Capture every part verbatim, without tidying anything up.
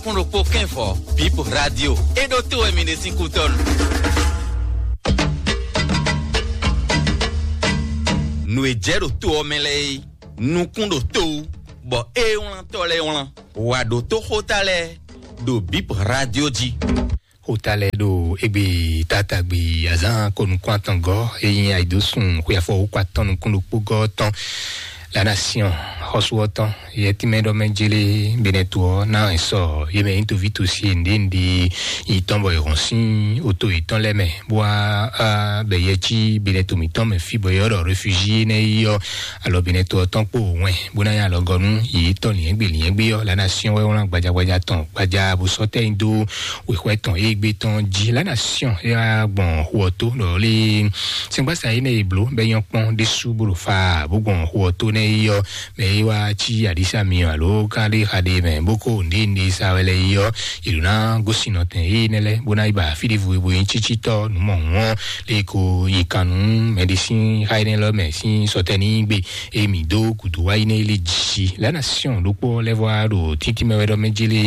Kún ɖokpó kɛ́nfɔ, Bip Radio. É ɖó tó wɛ mi ɖe sín kútɔ́nu. Nǔ e jɛ ɖo to ɔ́ mɛ lɛ́ɛ é, nukún ɖo to wú, bɔ é wlántɔ́ lɛ́ɛ wlán. Wǎ ɖo tó xóta lɛ́ɛ ɖo Bip Radio jí. Xóta lɛ́ɛ ɖo égbé tatagbe azán ko nukún atɔngɔ́ e nyí ayidosùn xwe afɔwúkɔ atɔn nukún ɖokpó gɔ́ tɔn. La Nation, xɔsú ɔ́ tɔn, yɛ tínmɛ ɖɔ mɛ jélé Benɛto ɔ́ ná sɔ yě mɛ nyí toví tosi e nǔɖé nǔɖé yi tɔn bɔ è hɔn sín oto yětɔn lɛ́ɛ mɛ, bó wá bɛ yɛ cí Benɛto mǐtɔn mɛ fí bɔ yɛ ɔ́ ɖɔ réfugié nɛ́ yi ɔ́, alɔ Benɛto ɔ́ tɔn kpo wɛn bó ná nyí alɔgɔ́ nú yě tɔn lǐnyɛ́gbé lǐnyɛ́gbé ɔ́. La Nation wɛ wlán gbaja gbaja tɔn gbaja bó sɔ́ tɛ́ nyi dó wěxwɛ́ tɔn e gbé tɔn jí. La Nation é wá gbɔn xu ɔ́ tó ɖɔ lé sɛngbásá énɛ́ e bló bɔ é nyɔ́ kpɔ́n ɖésú bó ɖo fa bó gbɔn xu ɔ́ tó nɛ́ yi ɔ́, mɛ e wá cí aɖísá myɔ alo ká ɖé xa ɖé mɛ bó kó nǔɖé nǔɖé sa wɛ lɛ́ɛ yi ɔ́, yě ɖó ná gosín nɔtɛn énɛ́ lɛ́ɛ bó ná yi ba fí ɖěvo e bo nyí cícítɔ́ nǔ mɔ̌hun ɔ́, lě ko nyi kan nú mɛɖé sín xá énɛ́ lɛ́ɛ mɛ sín sɔtɛ́ ní gbe e mǐ dó gǔdo wá yi nɛ́ é lé jí. La Nation ɖokpó lɛ́ɛ vɔ wá ɖo tíntín mɛ wɛ ɖɔ mɛ jélé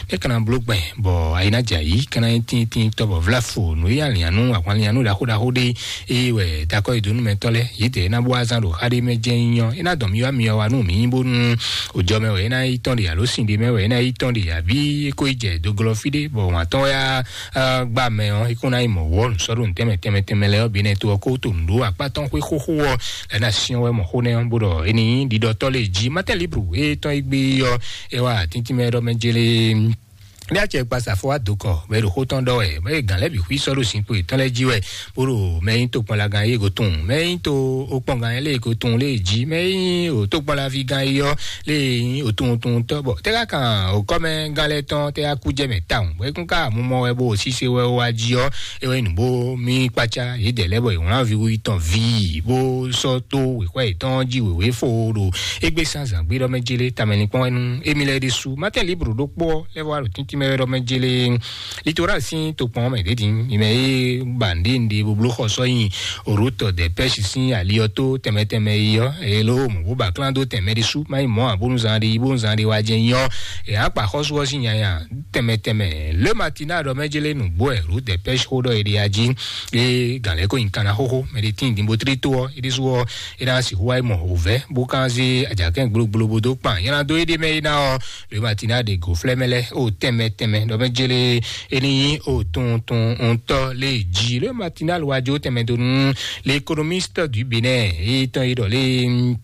nɛ́ ka ná bló gbɛn bɔ ayi ná jɛ ayǐ ka ná nyí tíntín tɔ́ bɔ vláfo nǔ e alǐannú ahwanlíannú ɖaxó ɖaxó ɖé e wɛ dakɔ e dó nú mɛtɔ́ lɛ́ɛ yědɛɛ ná bó wá zán ɖo xá ɖé mɛ jɛ́n nyí ɔ́, é ná dɔn mì wá myɔ wá nú mǐ bónú òjɔ mɛ wɛ é ná yi tɔn ɖe alo sin ɖé mɛ wɛ é ná yi tɔn ɖe abí é ko yi jɛ doglɔ fí ɖé bɔ wǎn tɔn wɛ á gbá mɛ ɔ́, é kún ná yi mɔ wǔ ɔ́ nǔsɔ́ɖó tɛnmɛ tɛnmɛ tɛnmɛ lɛ́ɛ ɔ́ bǐ nɛ́ to ɔ́ kó to nǔ ɖó akpá tɔn xwé xóxó ɔ́, lɛ̌ ná syɔ́n wɛ mɔ xó nɛ́ ɔ́ bó ɖɔ é ní nyí ɖiɖɔtɔ́ lě jí. Mátɛ́ Libru e tɔn e gbé ɔ́, é wá atíntín mɛ ɖɔ mɛ jélé ní acɛ kpa safo wá dǒ kɔ bɔ é ɖo xó tɔn ɖɔ wɛ bɔ é gǎn lɛ́ɛ bǐ xwí sɔ́ ɖo zinkpo yětɔn lɛ́ɛ jí wɛ, bó ɖo mɛ nyí tokpɔnlagán yě go tunwun, mɛ nyí to okpɔngán lě go tunwun lě jí, mɛ nyí òtókpɔnlaví gán yí ɔ́ lě nyí òtunwuntunwuntɔ́ bɔ tɛ́ ká kan òkɔ́mɛgán lɛ́ɛ tɔn tɛ́ ká kú jɛ mɛ tawun bɔ é kún ká mumɔ wɛ bó sise wɛ wá jí ɔ́, é wɛ nyí nǔ bó mí kpácá yědɛɛ lɛ́ɛ bɔ è wlán viwu yětɔn ví bó sɔ́ dó wěxwɛ́ yětɔn jí wěwé fo ɖo égbé sín azǎn gbé ɖɔ mɛ jélé tamɛ linkpɔ́n wɛ nú émí lɛ́ɛ ɖésú. Mátɛ́ Libru ɖokpó ɔ́ lɛ́ vɔ wá ɖo tíntín mɛ wɛ ɖɔ mɛ jélé Litoral sín tokpɔn mɛ ɖě din, mi mɛ e ba nɖe nɖe bo bló xɔ sɔ́ nyi Rutɔ de pɛ́si sín ali ɔ́ tó tɛnmɛ tɛnmɛ yi ɔ́, e ló mɔ bó ba klán dó tɛnmɛ ɖésú, má nyí mɔ̌ ǎ bónú zan ɖé yi bónú zan ɖé wá jɛ nyí ɔ́, è nǎ kpa xɔ́sú ɔ́ sín nyanya tɛnmɛ tɛnmɛ. Le Matina ɖɔ mɛ jélé nǔgbó wɛ Rutɔ de pɛ́si xó ɖɔ è ɖe ají, e gǎn lɛ́ɛ ko nyi kanna xóxó, mɛ ɖé tín din bó tlí tó ɔ́, é ɖésú ɔ́, é ná sixú wá yi mɔ wǒvɛ́ bó kán zé ajakɛ́n gblógbló bó dó kpan nylá dó éɖée mɛ é ná ɔ́, Le Matina ɖe gǒflɛ́ mɛ lɛ́ɛ o tɛnmɛ tɛnmɛ ɖɔ mɛ jélé é ní nyí o tunwun tunwun ŋutɔ́ lé jí. Le Matina lo wá jó tɛnmɛ dó nú l'économiste du Bénin é tɔn yi ɖɔ lé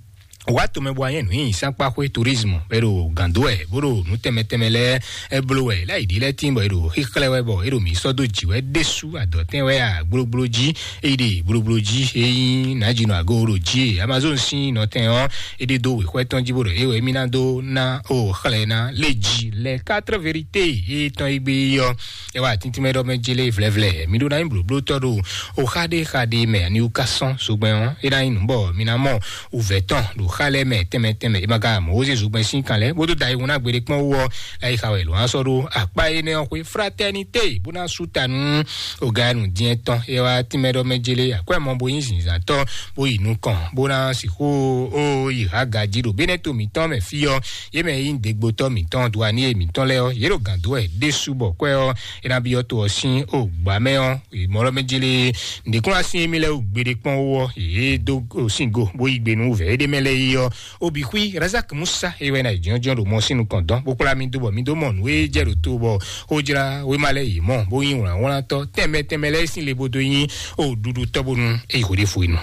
wá tomɛ bɔ anyɛ nǔ nyi sánkpáxwé tourisme bɛ ɖo gǎndó ɛ bó ɖo nǔ tɛnmɛ tɛnmɛ lɛ́ɛ ɛ bló wɛ láyi ɖi lɛ́ɛ tín bɔ é ɖo xíxlɛ́ wɛ bɔ é ɖo mǐ sɔ́ dó jǐ wɛ ɖésú adɔ̌tɛn wɛ a gblógbló jí é yi ɖe gblógbló jí é nyí nǎjínɔ agó ɖo jí e Amazon sín nɔtɛn ɔ́ é ɖe dó wěxwɛ́ tɔn jí bó ɖɔ é wɛ émí ná dó ná o xlɛ́ ná lé jí lɛ quatre vérité é tɔn é gbé ɔ́ é wá tíntín mɛ ɖɔ mɛ jélé vlɛvlɛ mí ɖó ná nyí blǒblótɔ́ ɖo o xa ɖé xa ɖé mɛ ani wú ká sɔ́n zogbɛ́n ɔ́ é ná nyí nǔ bɔ mí ná mɔ wǔvɛ́ tɔn ɖo xa lɛ́ɛ mɛ tɛnmɛ tɛnmɛ é ma ka mɔ wózé zogbɛ́n sín kan lɛ́ɛ bó dó da ayihun ná gbeɖé kpɔ́n wú ɔ́ láyixá wɛ è lǒ ná sɔ́ ɖó akpá énɛ́ ɔ́ xwé fraternité bó ná sú ta nú oganu diɛn tɔn é wá tínmɛ ɖɔ mɛ jélé akwɛ́ mɔ bó nyí zǐnzǎntɔ́ bó yi nukɔn bó ná sixú ó yi há gají ɖo bénɛ́ to mǐtɔn mɛ fí ɔ́ yé mɛ nyí dégbotɔ́ mǐtɔn duaníye mǐtɔn lɛ́ɛ ɔ́ yě ɖo gǎn dó wɛ ɖésú bɔ kwɛ́ ɔ́ é ná byɔ́ to ɔ́ sín o gbǎ mɛ ɔ́ mɔlɔ mɛ jélé ǹdékúnlá sín émí lɛ́ɛ wú gbeɖé kpɔ́n wú ɔ́ yě dó sín go bó yí gbe nú vɛ̌ éɖé mɛ lɛ́ɛ yi ɔ́ obi xwí razak musa é wɛ ná yi jɔ́njɔ́n ɖo mɔ sín nukɔn dɔn bó kplá mì dó bɔ mì dó mɔ nǔ e jɛ ɖo to bɔ xójlá wéma lɛ́ɛ yě mɔ bó nyí wlǎnwlántɔ́ tɛnmɛ tɛnmɛ lɛ́ɛ sín le bó dó nyí o ɖuɖu tɔ́ bónú é yi xwedéfo e nɔ.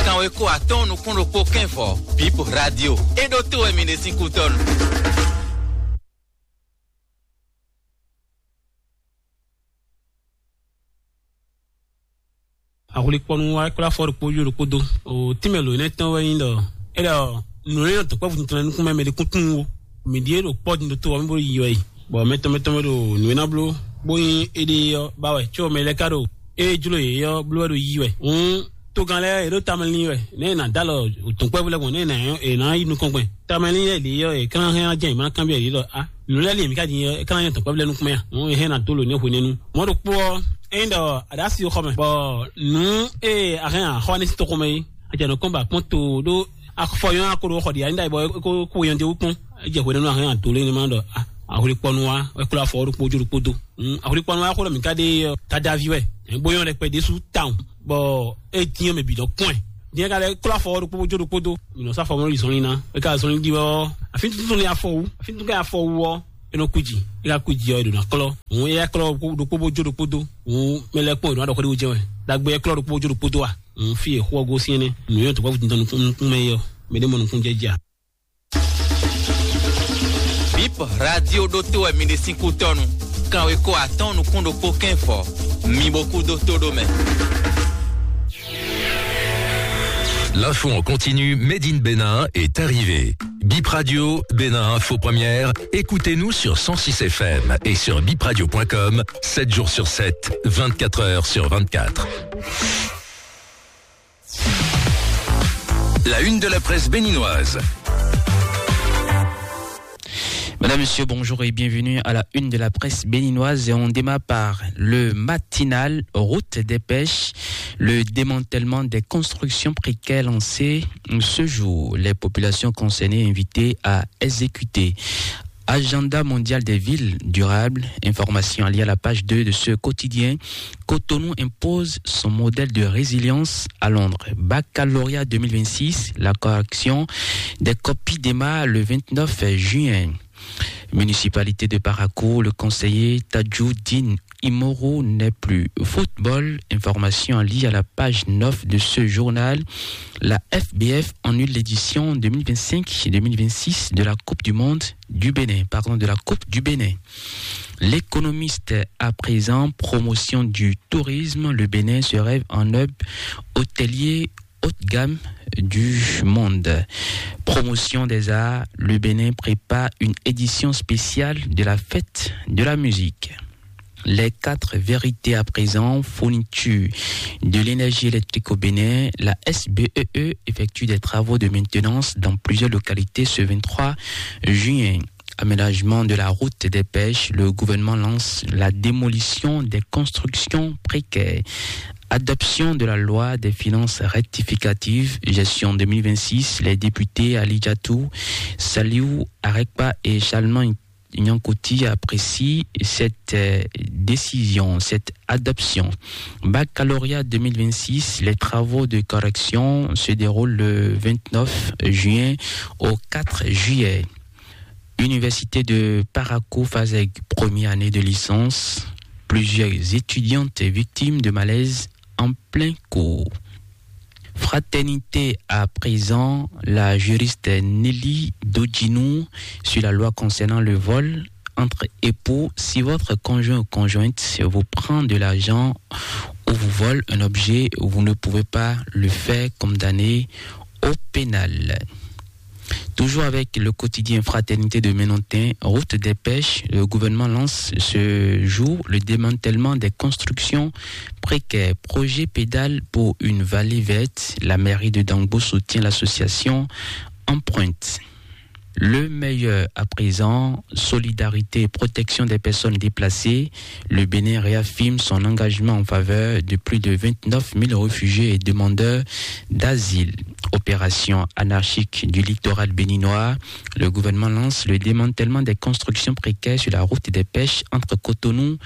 Kanwe ko atɔ́ɔ́n nukún ɖokpó kɛ́nvɔ Bip Radio é ɖó tó wɛ mi ɖe sín kútɔ́nu. Ahwlikpɔnu wa kplá fɔ ɖokpó yó ɖokpó dó. O tínmɛ lǒ énɛ́ tɔn wɛ nyí ɖɔ é ɖɔ nǔ e nɔ dɔ̌nkpɛ́vú tɔn lɛ́ɛ nukún mɛ mɛ ɖé kún tunwun ó. Mǐ ɖíe ɖo kpɔ́ din ɖo to ɔ́ mɛ bó yi wɛ yi. Bɔ mɛ tɔn mɛ tɔn mɛ ɖo nǔ e ná bló bó nyí éɖée ɔ́ ba wɛ có mɛ lɛ́ɛ ka ɖo ée jló yě ɔ́ bló wɛ ɖo yí wɛ. Hǔn togán lɛ́ɛ yě ɖo tamɛ lín wɛ nɛ̌ è nǎ dó alɔ dɔ̌nkpɛ́vú lɛ́ɛ gbɔn nɛ̌ è nǎ è nǎ yi nukɔn gbɛn. Tamɛ lín lɛ́ɛ lě ɔ́ è ka ná hɛn ná jɛ yě ma ná kanbyɔ́ yě ɖɔ á nǔ lɛ́ɛ lě mǐ ka din ɔ́ é ka ná nyɔ́ dɔ̌nkpɛ́vú lɛ́ɛ nukún mɛ a? Hǔn è hɛn ná dó lǒ nɛ́ hwenɛ́nu. Mɔ̌ ɖokpó ɔ́, ényí ɖɔ a ɖǎ si xɔ mɛ bɔ nǔ e a hɛn a xɔ nɛ́ sín toxo mɛ é, a jɛ nǔ kɔn ba kpɔ́n to ɖó Afɔ yɔn ako ɖo xɔ ɖi ani ɖayi bɔ e ko ko yɔn de wú kpɔn. E jɛ hwenu nɔ ahɛn ado lé ne ma ɖɔ ahwlikpɔnu wa e klo afɔ ɖokpó jó ɖokpó do. Ahwlikpɔnu wa xo ɖɔ mi ka ɖe ɔ dadavi wɛ. Bo yɔn ɖɛkpɛ ɖésú tawun bɔ e dín ɔmɛ bǐ dɔ kɔn ɛ. Dín ka lɛ klo afɔ ɖokpó jó ɖokpó do. Mi nɔ sa fɔ mɔ yi zɔnlin na. E ka zɔnlin di wɛ ɔ afi tuntun ni afɔ wu afi tuntun ka afɔ wu ɔ e nɔ kuji e ka kuji ɔ e ɖo na klɔ. Hun e ya klɔ ɖokpó bó jó ɖokpó do. Hun mɛ lɛ kpɔn e ɖo na ɖɔ xɔ ɖe wo jɛ wɛ. Dagbe e klɔ ɖokpó bó jó ɖokpó do a. Hun fi e xɔ gosín ne. Nǔ yɔn tó kɔ nukún nukún mɛ yɔ. Mɛ ɖe mɔ nukún jɛ ja. Bip radio ɖótó wɛ mi ɖe sín kútɔ́nu. Kanweko atɔ́ɔ́n nukún ɖokpó kɛ́n fɔ. Mi bo kú dó tó ɖó mɛ. L'info en continu, Made in Bénin est arrivé. Bip Radio, Bénin Info Première, écoutez-nous sur cent six F M et sur bipradio point com, sept jours sur sept, vingt-quatre heures sur vingt-quatre. La une de la presse béninoise. Madame, Monsieur, bonjour et bienvenue à la une de la presse béninoise. Et on démarre par le matinal Route des Pêches. Le démantèlement des constructions précaires lancé ce jour. Les populations concernées invitées à exécuter. Agenda mondial des villes durables, information liée à la page deux de ce quotidien. Cotonou impose son modèle de résilience à Londres. Baccalauréat deux mille vingt-six, la correction des copies démarre le vingt-neuf juin. Municipalité de Parakou, le conseiller Tadjoudine Imoro n'est plus. Football, information liée à la page neuf de ce journal. La F B F annule l'édition deux mille vingt-cinq deux mille vingt-six de la Coupe du Monde du Bénin, pardon, de la Coupe du Bénin. L'économiste à présent, promotion du tourisme, le Bénin se rêve en hub hôtelier haut de gamme du monde. Promotion des arts, le Bénin prépare une édition spéciale de la fête de la musique. Les quatre vérités à présent, fourniture de l'énergie électrique au Bénin, la S B E E effectue des travaux de maintenance dans plusieurs localités ce vingt-trois juin. Aménagement de la route des pêches, le gouvernement lance la démolition des constructions précaires. Adoption de la loi des finances rectificatives, gestion deux mille vingt-six, les députés Ali Diatou, Saliou Arekpa et Charlemagne Nyankoti apprécient cette euh, décision, cette adoption. Baccalauréat deux mille vingt-six, les travaux de correction se déroulent le vingt-neuf juin au quatre juillet. Université de Parakou Fazeg, première année de licence. Plusieurs étudiantes victimes de malaise en plein cours. Fraternité à présent, la juriste Nelly Dodjinou sur la loi concernant le vol entre époux. Si votre conjoint ou conjointe vous prend de l'argent ou vous vole un objet, vous ne pouvez pas le faire condamner au pénal. Toujours avec le quotidien Fraternité de Ménontin, route des pêches, le gouvernement lance ce jour le démantèlement des constructions précaires. Projet pédale pour une vallée verte, la mairie de Dangbo soutient l'association Empreinte. Le meilleur à présent, solidarité et protection des personnes déplacées. Le Bénin réaffirme son engagement en faveur de plus de vingt-neuf mille réfugiés et demandeurs d'asile. Opération anarchique du littoral béninois, le gouvernement lance le démantèlement des constructions précaires sur la route des pêches entre Cotonou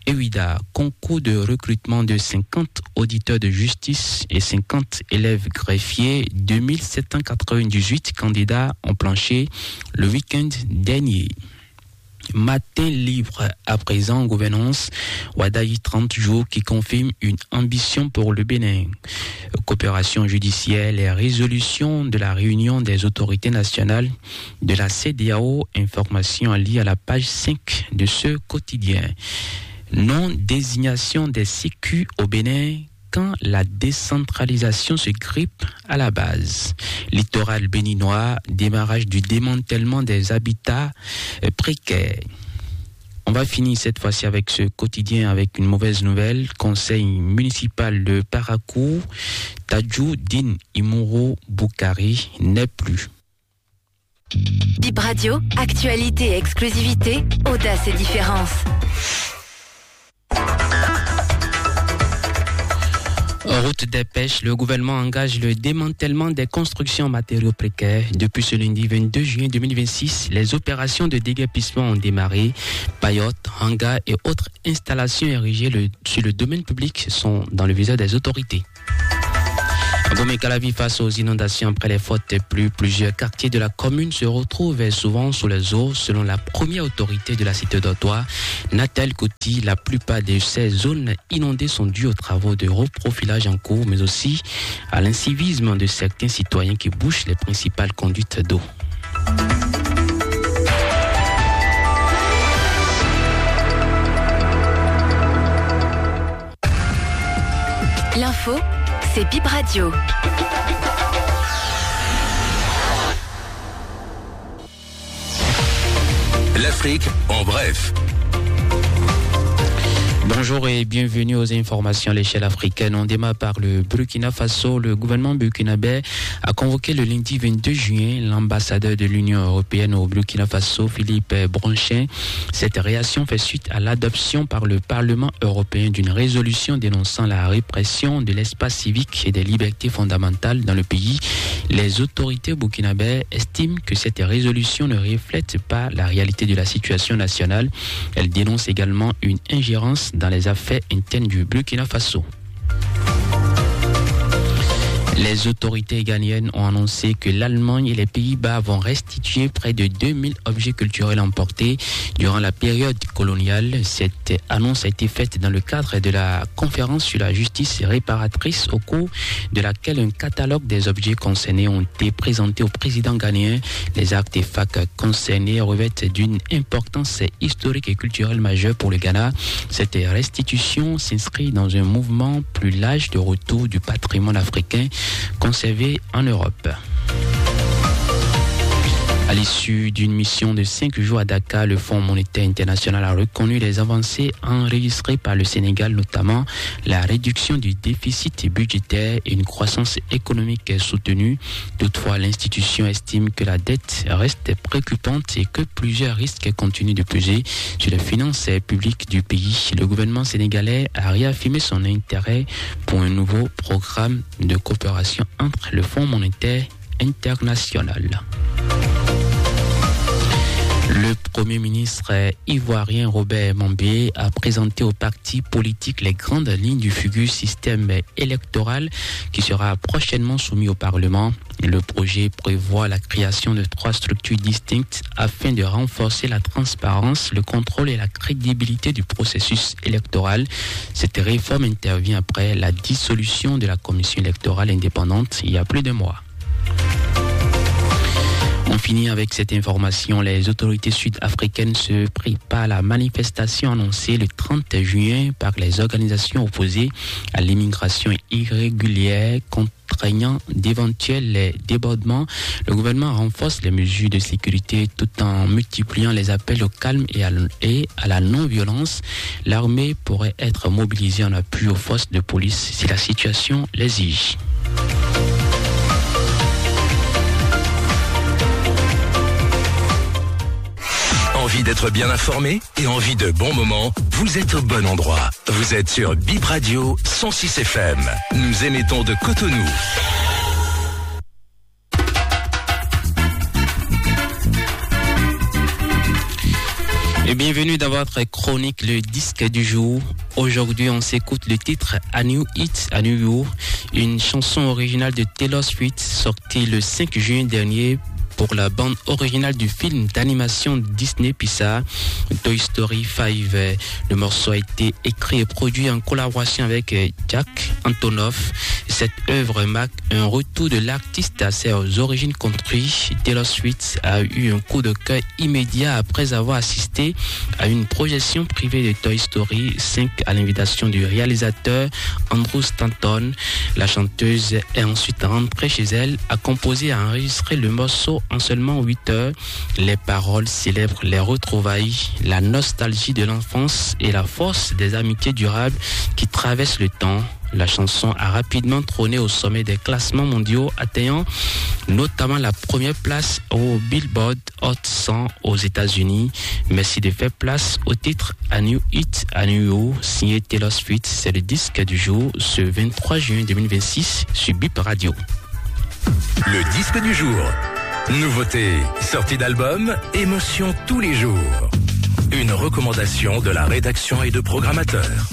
et Ouidah. Concours de recrutement de cinquante auditeurs de justice et cinquante élèves greffiers. Deux mille sept cent quatre-vingt-dix-huit candidats ont planché le week-end dernier. Matin libre à présent en gouvernance, Wadayi trente jours qui confirme une ambition pour le Bénin. Coopération judiciaire, les résolutions de la réunion des autorités nationales de la C D A O, information à lire à la page cinq de ce quotidien. Non-désignation des C Q au Bénin quand la décentralisation se grippe à la base. Littoral béninois, démarrage du démantèlement des habitats euh, précaires. On va finir cette fois-ci avec ce quotidien avec une mauvaise nouvelle. Conseil municipal de Parakou, Tadjou Din Imoro Boukari n'est plus. Bip Radio, actualité et exclusivité, audace et différence. En route des pêches, le gouvernement engage le démantèlement des constructions en matériaux précaires. Depuis ce lundi vingt-deux juin deux mille vingt-six, les opérations de déguerpissement ont démarré. Paillotes, hangars et autres installations érigées le- sur le domaine public sont dans le viseur des autorités. Abomey-Calavi face aux inondations après les fortes pluies, plusieurs quartiers de la commune se retrouvent souvent sous les eaux. Selon la première autorité de la cité d'Ortois, Nathalie Coty, la plupart de ces zones inondées sont dues aux travaux de reprofilage en cours, mais aussi à l'incivisme de certains citoyens qui bouchent les principales conduites d'eau. L'info, c'est Bip Radio. L'Afrique en bref. Bonjour et bienvenue aux informations à l'échelle africaine. On démarre par le Burkina Faso. Le gouvernement burkinabé a convoqué le lundi vingt-deux juin l'ambassadeur de l'Union européenne au Burkina Faso, Philippe Bronchin. Cette réaction fait suite à l'adoption par le Parlement européen d'une résolution dénonçant la répression de l'espace civique et des libertés fondamentales dans le pays. Les autorités burkinabées estiment que cette résolution ne reflète pas la réalité de la situation nationale. Elle dénonce également une ingérence dans les affaires internes du Burkina Faso. Les autorités ghanéennes ont annoncé que l'Allemagne et les Pays-Bas vont restituer près de deux mille objets culturels emportés durant la période coloniale. Cette annonce a été faite dans le cadre de la conférence sur la justice réparatrice, au cours de laquelle un catalogue des objets concernés ont été présentés au président ghanéen. Les artefacts concernés revêtent d'une importance historique et culturelle majeure pour le Ghana. Cette restitution s'inscrit dans un mouvement plus large de retour du patrimoine africain conservé en Europe. À l'issue d'une mission de cinq jours à Dakar, le Fonds monétaire international a reconnu les avancées enregistrées par le Sénégal, notamment la réduction du déficit budgétaire et une croissance économique soutenue. Toutefois, l'institution estime que la dette reste préoccupante et que plusieurs risques continuent de peser sur les finances publiques du pays. Le gouvernement sénégalais a réaffirmé son intérêt pour un nouveau programme de coopération entre le Fonds monétaire international. Le Premier ministre ivoirien Robert Mambé a présenté aux partis politiques les grandes lignes du futur système électoral qui sera prochainement soumis au Parlement. Le projet prévoit la création de trois structures distinctes afin de renforcer la transparence, le contrôle et la crédibilité du processus électoral. Cette réforme intervient après la dissolution de la Commission électorale indépendante il y a plus d'un mois. On finit avec cette information. Les autorités sud-africaines se préparent à la manifestation annoncée le trente juin par les organisations opposées à l'immigration irrégulière, contraignant d'éventuels débordements. Le gouvernement renforce les mesures de sécurité tout en multipliant les appels au calme et à l-, et à la non-violence. L'armée pourrait être mobilisée en appui aux forces de police si la situation l'exige. Envie d'être bien informé et envie de bons moments ? Vous êtes au bon endroit. Vous êtes sur Bip Radio cent six F M. Nous émettons de Cotonou. Et bienvenue dans votre chronique, le disque du jour. Aujourd'hui, on s'écoute le titre A New Hit, A New You, une chanson originale de Taylor Swift sortie le cinq juin dernier pour la bande originale du film d'animation Disney Pixar, Toy Story cinq. Le morceau a été écrit et produit en collaboration avec, euh, Jack Antonoff. Cette œuvre marque un retour de l'artiste à ses origines country. Taylor Swift a eu un coup de cœur immédiat après avoir assisté à une projection privée de Toy Story cinq à l'invitation du réalisateur Andrew Stanton. La chanteuse est ensuite rentrée chez elle, a composé et a enregistré le morceau en seulement huit heures. Les paroles célèbrent les retrouvailles, la nostalgie de l'enfance et la force des amitiés durables qui traversent le temps. La chanson a rapidement trôné au sommet des classements mondiaux, atteignant notamment la première place au Billboard Hot cent aux États-Unis. Merci de faire place au titre A New Hit, A New You, signé Taylor Swift. C'est le disque du jour, ce vingt-trois juin deux mille vingt-six, sur Bip Radio. Le disque du jour. Nouveauté, sortie d'album, émotion tous les jours. Une recommandation de la rédaction et de programmateurs.